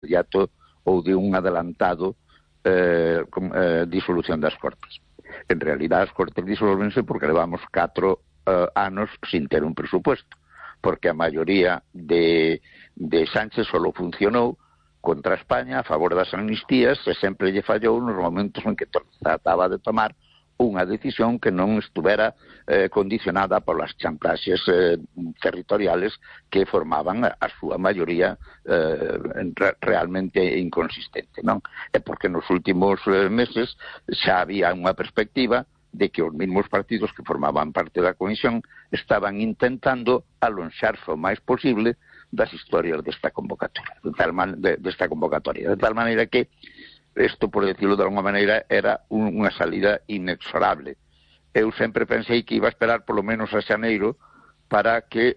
inmediato ou de un adelantado disolución das Cortes. En realidad as Cortes disolvense porque levamos 4 anos sin ter un presupuesto, porque a maioría de Sánchez solo funcionou contra España a favor das amnistías e sempre lle fallou nos momentos en que trataba de tomar unha decisión que non estuvera condicionada polas chantaxes territoriales que formaban a súa maioría realmente inconsistente, non? É porque nos últimos meses xa había unha perspectiva de que os mesmos partidos que formaban parte da Comisión estaban intentando alonxarse o máis posible das historias desta convocatoria, de tal maneira que isto, por decirlo de alguma maneira, era unha salida inexorable. Eu sempre pensei que iba a esperar polo menos a xaneiro para que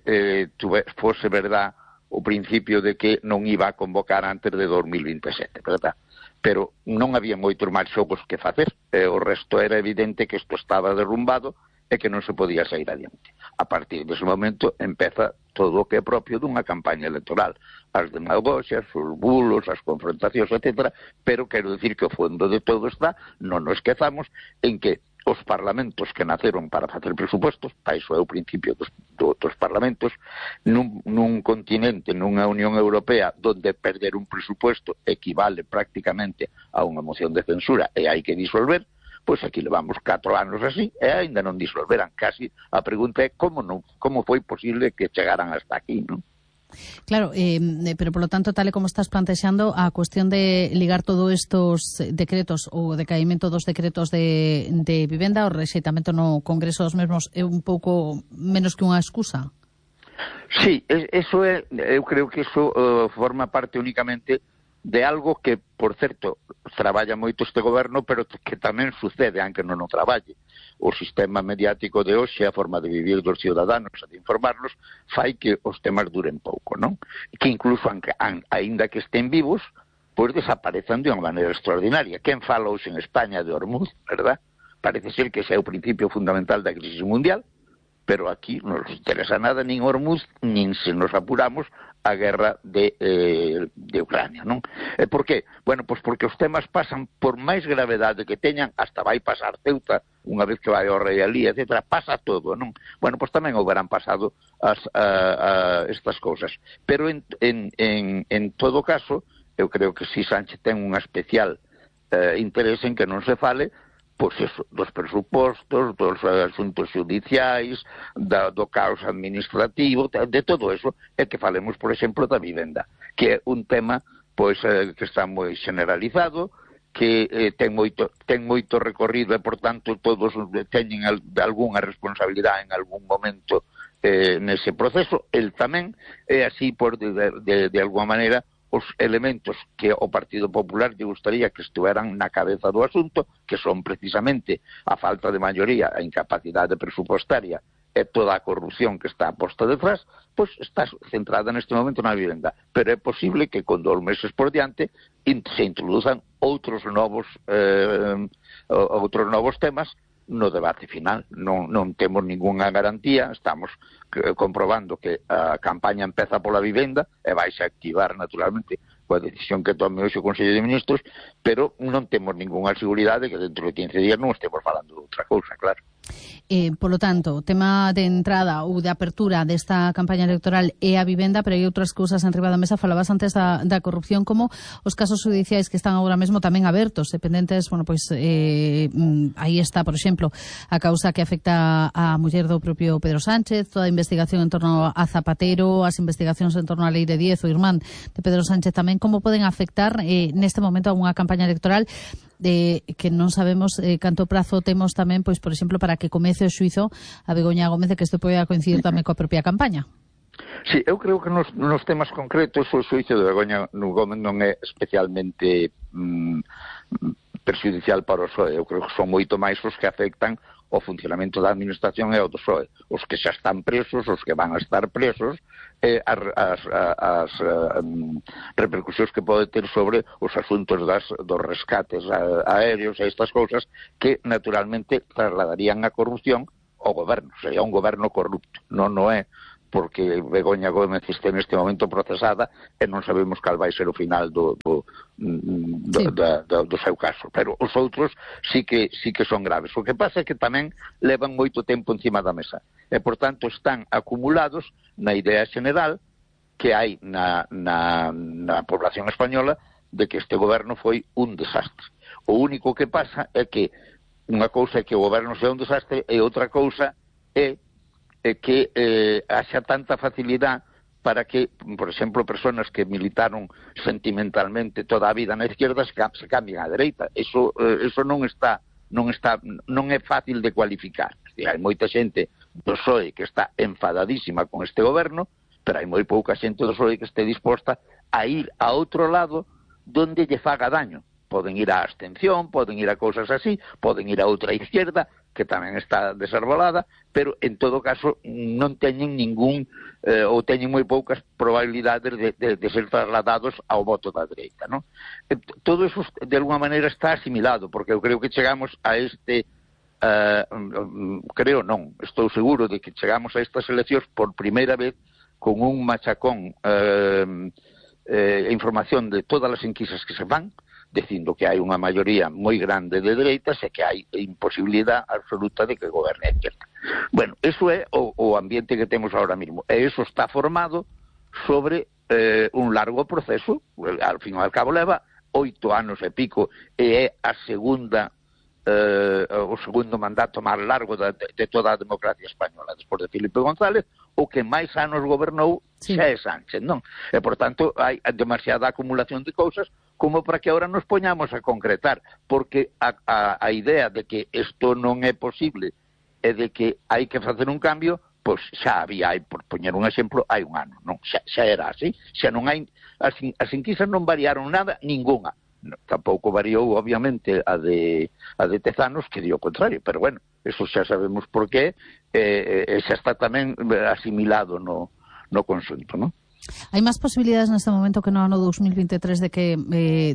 fose verdad o principio de que non iba a convocar antes de 2027, verdad? Pero non había moitos máis xogos que facer. O resto era evidente que isto estaba derrumbado e que non se podía sair adiante. A partir dese momento empeza todo o que é propio dunha campaña electoral. As demagoxias, os bulos, as confrontacións, etc. Pero quero dicir que o fondo de todo está, non nos esquezamos, en que os parlamentos que naceron para facer presupostos, para iso é o principio dos parlamentos, nun continente, nunha Unión Europea, donde perder un presupuesto equivale prácticamente a unha moción de censura e hai que disolver, pois aquí levamos 4 anos así e aínda non disolveran. Casi a pregunta é como foi posible que chegaran hasta aquí, non? Claro, pero polo tanto, tal e como estás plantexando, a cuestión de ligar todos estos decretos ou decaimento dos decretos de vivenda, o rexeitamento no Congreso dos mesmos é un pouco menos que unha excusa? Sí, eso é, eu creo que eso forma parte únicamente de algo que, por certo, traballa moito este goberno, pero que tamén sucede, aunque non o traballe. O sistema mediático de hoxe, a forma de vivir dos ciudadanos e de informarlos, fai que os temas duren pouco, non? Que incluso, aínda que estén vivos, pois desaparezan de unha maneira extraordinaria. Quen fala hoxe en España de Hormuz, verdad? Parece ser que ese é o principio fundamental da crisis mundial, pero aquí non nos interesa nada nin Hormuz, nin, se nos apuramos, a guerra de Ucrania, non? Por qué? Bueno, pois porque os temas pasan, por máis gravedade que teñan, hasta vai pasar Ceuta, unha vez que vai ao rei Alí, etc., pasa todo, non? Bueno, pois tamén houberán pasado estas cousas. Pero en todo caso, eu creo que si Sánchez ten un especial interés en que non se fale pois eso, dos presupostos, dos asuntos judiciais, do caos administrativo, de todo eso, e que falemos, por exemplo, da vivenda, que é un tema pois que está moi generalizado, que ten moito recorrido e, por tanto, todos teñen algunha responsabilidade en algún momento nese proceso. El tamén é así, por de alguma maneira, os elementos que o Partido Popular lle gustaría que estuveran na cabeza do asunto, que son precisamente a falta de maioría, a incapacidade presupostaria e toda a corrupción que está posta detrás, pois está centrada neste momento na vivenda. Pero é posible que con 2 meses por diante se introduzan outros novos temas no debate final. Non temos ningunha garantía, estamos comprobando que a campaña empeza pola vivenda e vai a activar naturalmente coa decisión que tome hoxe o Consello de Ministros, pero non temos ningunha seguridade que dentro de 15 días non estemos falando de outra cousa, claro. Polo tanto, o tema de entrada ou de apertura desta campaña electoral é a vivenda, pero hai outras cousas enriba da mesa. Falabas antes da corrupción, como os casos judiciais que están agora mesmo tamén abertos, dependentes, bueno, pois aí está, por exemplo, a causa que afecta a muller do propio Pedro Sánchez, toda a investigación en torno a Zapatero, as investigacións en torno á Lei de 10, o irmán de Pedro Sánchez tamén, como poden afectar neste momento a unha campaña electoral que non sabemos canto prazo temos tamén, pois, por exemplo, para que comece o xuizo a Begoña Gómez, de que isto poida coincidir tamén coa propia campaña. Sí, eu creo que nos temas concretos o xuizo de Begoña Gómez non é especialmente perxudicial para o PSOE. Eu creo que son moito máis os que afectan o funcionamento da administración e o do PSOE. Os que xa están presos, os que van a estar presos, as repercusións que pode ter sobre os asuntos dos rescates aéreos e estas cousas que naturalmente trasladarían a corrupción ao goberno. Sería un goberno corrupto. Non é porque Begoña Gómez está neste momento procesada e non sabemos cal vai ser o final do seu caso. Pero os outros sí que son graves. O que pasa é que tamén levan moito tempo encima da mesa e, por tanto, están acumulados na idea general que hai na población española de que este goberno foi un desastre. O único que pasa é que unha cousa é que o goberno sea un desastre e outra cousa é que haxa tanta facilidade para que, por exemplo, persoas que militaron sentimentalmente toda a vida na izquierda se cambien á dereita. Eso non é fácil de cualificar. Hai moita xente do PSOE que está enfadadísima con este goberno, pero hai moi pouca xente do PSOE que este disposta a ir a outro lado donde lle faga daño. Poden ir á abstención, poden ir a cousas así, poden ir a outra izquierda, que tamén está desarbolada, pero en todo caso non teñen ningún, ou teñen moi poucas probabilidades de ser trasladados ao voto da dereita, non? Todo eso de alguma maneira está asimilado, porque eu creo que chegamos a este, estou seguro de que chegamos a estas eleccións por primeira vez con un machacón información de todas as enquisas que se fan, dicindo que hai unha maioría moi grande de dereitas e que hai imposibilidade absoluta de que goberne a izquierda. Bueno, eso é o ambiente que temos ahora mismo. E eso está formado sobre un largo proceso, al fin e al cabo leva 8 anos e pico, e é a segunda o segundo mandato máis largo de toda a democracia española, despois de Felipe González. O que máis anos gobernou xa é Sánchez, non? E, por tanto, hai demasiada acumulación de cousas como para que agora nos poñamos a concretar, porque a idea de que isto non é posible e de que hai que facer un cambio, pois xa había, por poñer un exemplo, hai un ano, non? Xa era así, xa non hai, as enquisas non variaron nada, ninguna. No, tampouco variou, obviamente, a de Tezanos, que dio o contrario, pero bueno, eso xa sabemos por qué, xa está tamén asimilado no conxunto, non? Hai máis posibilidades neste momento que no ano 2023 de que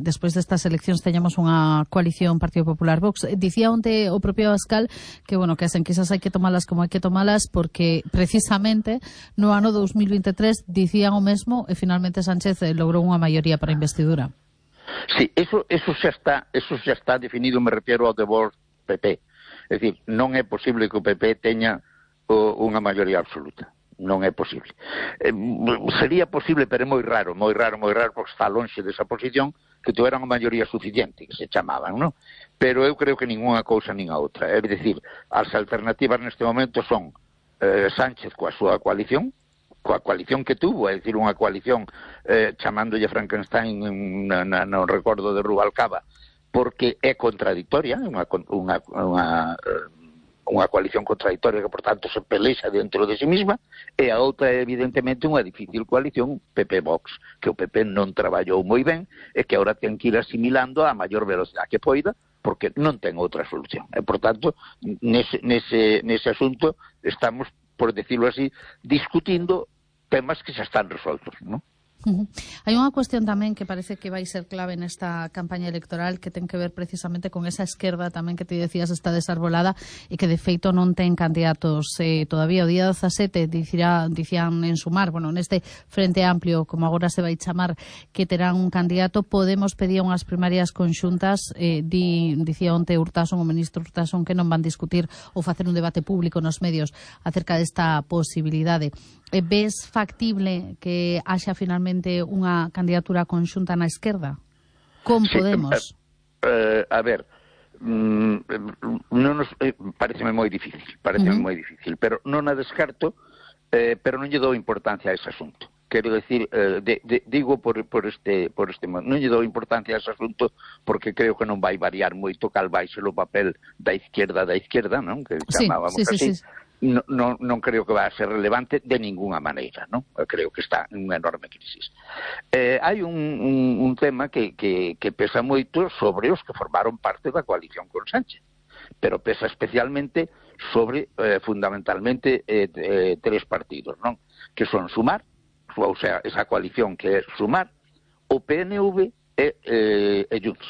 despois destas eleccións teñamos unha coalición Partido Popular Vox. Dicía onte o propio Abascal que, bueno, que as enquisas hai que tomalas como hai que tomalas porque precisamente no ano 2023 dicían o mesmo e finalmente Sánchez logrou unha maioría para a investidura. Sí, eso xa está definido, me refiero ao de Vox PP. É dicir, non é posible que o PP teña unha maioría absoluta. Non é posible. Sería posible, pero é moi raro, porque está lonxe desa posición, que tuveran unha maioría suficiente, que se chamaban, non? Pero eu creo que ninguna cousa nin a outra. É dicir, as alternativas neste momento son Sánchez coa súa coalición que tuvo, é dicir, unha coalición chamándolle Frankenstein no recordo de Rubalcaba, porque é contradictoria, unha coalición contradictoria que, por tanto, se pelexa dentro de si mesma, e a outra é, evidentemente, unha difícil coalición PP-Vox, que o PP non traballou moi ben e que agora ten que ir asimilando a maior velocidade que poida, porque non ten outra solución. E, por tanto, nese asunto estamos, por decirlo así, discutindo temas que xa están resoltos, non? Hai unha cuestión tamén que parece que vai ser clave nesta campaña electoral que ten que ver precisamente con esa esquerda tamén que te decías está desarbolada e que de feito non ten candidatos todavía. O día 17 dicían en Sumar, bueno, neste Frente Amplio, como agora se vai chamar, que terán un candidato. Podemos pedir unhas primarias conxuntas, dicía onte Urtasun, o ministro Urtasun, que non van discutir ou facer un debate público nos medios acerca desta posibilidade. Ves factible que haxa finalmente unha candidatura conxunta na esquerda? Con Podemos? A ver, pareceme moi difícil, pero non a descarto, pero non lle dou importancia a ese asunto. Quero decir, digo por este modo, non lle dou importancia a ese asunto porque creo que non vai variar moito cal vai ser o papel da izquierda, non? Que chamábamos así. Sí. Non creo que vai a ser relevante de ninguna maneira, non? Creo que está en unha enorme crisis. Hai un tema que pesa moito sobre os que formaron parte da coalición con Sánchez, pero pesa especialmente sobre, fundamentalmente, 3 partidos, non? Que son Sumar, ou sea, esa coalición que é Sumar, o PNV e Junts,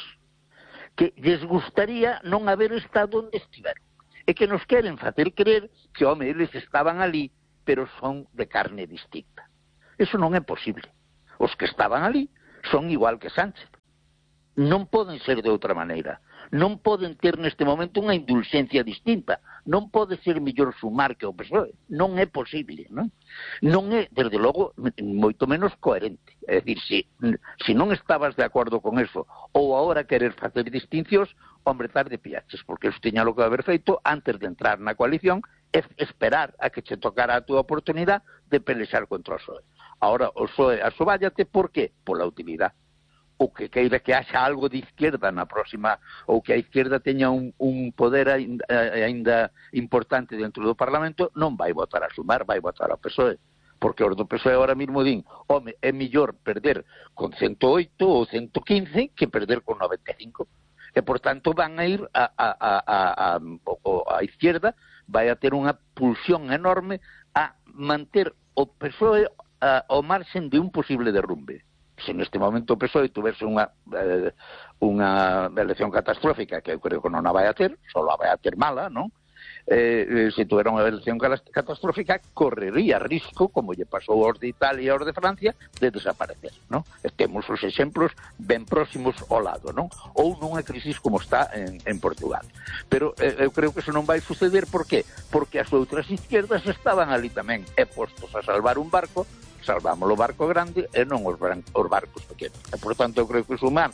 que lles gustaría non haber estado onde estiveron. E que nos queren facer creer que, home, eles estaban ali, pero son de carne distinta. Eso non é posible. Os que estaban ali son igual que Sánchez. Non poden ser de outra maneira. Non poden ter neste momento unha indulxencia distinta. Non pode ser mellor Sumar que o PSOE. Non é posible, non? Non é, desde logo, moito menos coherente. É dicir, se non estabas de acordo con eso, ou agora querer facer distincións, hombre, tarde piaches, porque eso tiña lo que haber feito antes de entrar na coalición, é esperar a que che tocara a túa oportunidade de pelexar contra o PSOE. Ahora, o PSOE asobállate, por qué? Pola utilidade. O que queira que haxa algo de izquierda na próxima, ou que a izquierda teña un poder ainda importante dentro do Parlamento, non vai votar a Sumar, vai votar ao PSOE. Porque os do PSOE ahora mismo din, home, é mellor perder con 108 ou 115 que perder con 95. E, por tanto, van a ir a izquierda, vai a ter unha pulsión enorme a manter o PSOE ao marxen de un posible derrumbe. Se neste momento o PSOE tuvese unha elección catastrófica, que eu creo que non a vai a ter, só a vai a ter mala, non? Se tuvera unha elección catastrófica, correría risco, como lle pasou aos de Italia e aos de Francia, de desaparecer, non? Temos os exemplos ben próximos ao lado, non? Ou nunha crisis como está en Portugal. Pero eu creo que eso non vai suceder, por qué? Porque as outras izquierdas estaban ali tamén, postos a salvar un barco, salvamos o barco grande e non os barcos pequenos. E, por tanto, eu creo que os humanos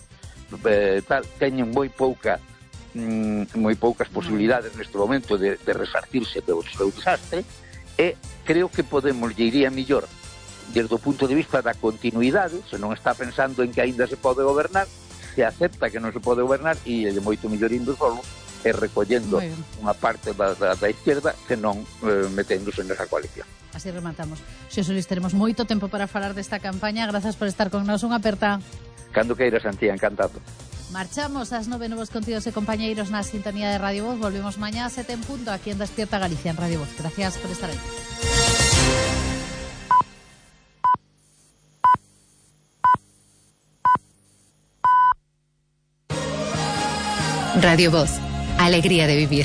teñen moi poucas posibilidades neste momento de resarcirse do seu desastre, e creo que podemos, lle iría mellor desde o punto de vista da continuidade, se non está pensando en que aínda se pode gobernar, se acepta que non se pode gobernar, e é moito mellor indo solo e recollendo unha parte da izquierda que non meténdose nesa coalición. Así rematamos. Xosé Luís, teremos moito tempo para falar desta campaña. Grazas por estar con nós. Unha aperta. Cando queiras, Antía, encantado. Marchamos ás 9, novos contidos e compañeiros na sintonía de Radio Voz. Volvemos mañá a 7 en punto aquí en Despierta Galicia en Radio Voz. Gracias por estar aí. Radio Voz, alegría de vivir.